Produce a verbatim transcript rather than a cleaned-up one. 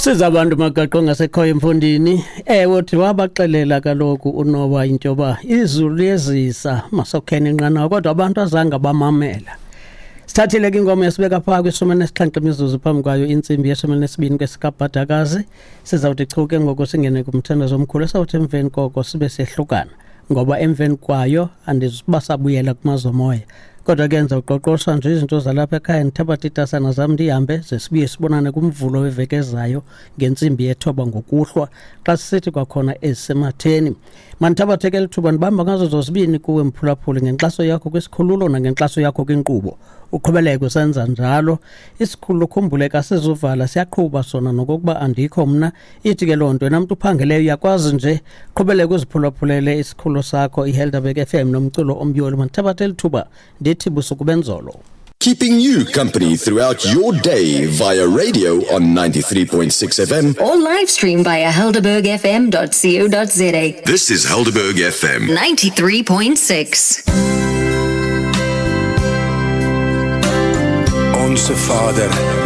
Siza abantu magaqo ngasekhoyo emfundini. Ewe, uthi wabaxelela kaloku uNowa into yoba izulu liyezisa, masokheni inqanawa, kodwa abantu azange bamamela. Sithathile ke ingoma yasibeka phaa kwishumi elinesixhenxe imizuzu phambi kwayo intsimbi yeshumi elinesibini kwesikabhadakazi. Sizawuthi chu ke ngoku singene kumthandazo omkhulu, esawuthi emveni koko sibe sehlukana, ngoba emveni kwayo andizuba sabuyela kumazomoya. Kodwa ke ndizawuqoqosha nje izinto zalapha ekhaya, ndithabathe iitasana zam ndihambe, ze sibuye sibonane kumvulo weveki ezayo ngentsimbi yethoba ngokuhlwa, xa sisithi kwakhona ezisematheni. Mandithabathe ke lithuba ndibamba ngazo zozibini kuwe mphulaphuli, ngenkxaso yakho kwisikhululo nangenkxaso yakho kwinkqubo. Uqhubeleke usenza njalo. Isikhululo khumbuleka asizuvala, siyaqhuba sona nokokuba andikho mna. Ithi ke loo nto wena mntu uphangeleyo uyakwazi nje qhubeleke uziphulaphulele isikhululo sakho iHelderberg F M nomculo omyoli. Mandithabathe lithuba ndithi busuku benzolo. Keeping you company throughout your day via radio on ninety-three point six F M or live stream via helderberg f m dot co dot z a. This is Helderberg F M ninety-three point six. Onse Vader